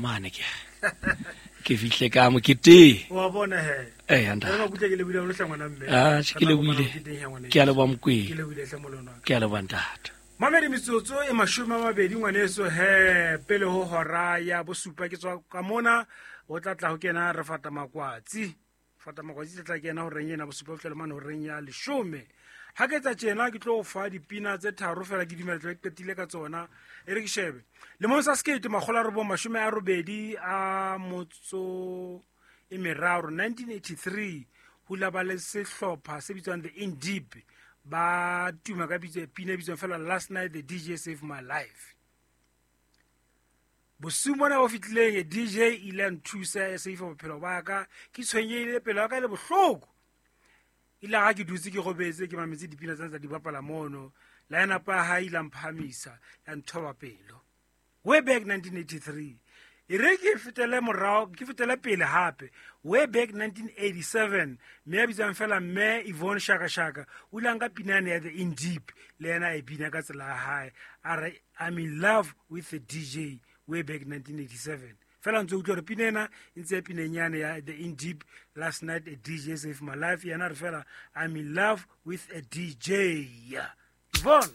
mane ke ke fihle ka moketeng. Wa bona he. Ee, ntate. Re makutle ke lebohile haholo hle ngwana mme. Ah, ke Re tla kopana lebohile. moketeng he ngwaneso. Ke a leboha Mokwena. Ke lebohile hle molemo wa ka. Ke a leboha ntate. Mamedi metsotso e 20 ngwaneso he pele ho hora ya bosupa ke tswa ka mona o tla tla ho kena re fata makwatsi. Fata makwatsi tla tla kena horeng ena bosupa ho fihlela mane horeng ya leshome. Ha ke etsa tjena ke tlo o fa dipina tse tharo fela ke dumela tla ke qetile ka tsona. E re ke shebe. Lemong sa 1983, 1983, ho ile ba le sehlopha se bitswang The In Deep ba tuma ka bitso pina e bitswang fela Last Night the DJ Saved My Life. Bosiung bona bo fetileng DJ e ile ya nthusa ya save bophelo ba ka, ke tshwenyehile pelo ya ka e le bohloko. Ile ga ke dutse ke robetse ke mametse dipina tsena tsa di bapala mono, line up ya hae ile ya mphahamisa ya nthoba pelo. Way back 1983. E re ke fetele morao, ke fetele pele hape. Way back 1987, mme ya bitswang fela mme Yvonne Shaka Shaka o ile a nka pina yane ya The In Deep le yena a e bina ka tsela ya hae. A re I'm in love with the DJ way back 1987. Fela ntse utlwa hore pina ena e ntse ya pineng yane ya The In Deep, Last Night a DJ Saved My Life. Yena a re fela I'm in love with a DJ. Yvonne.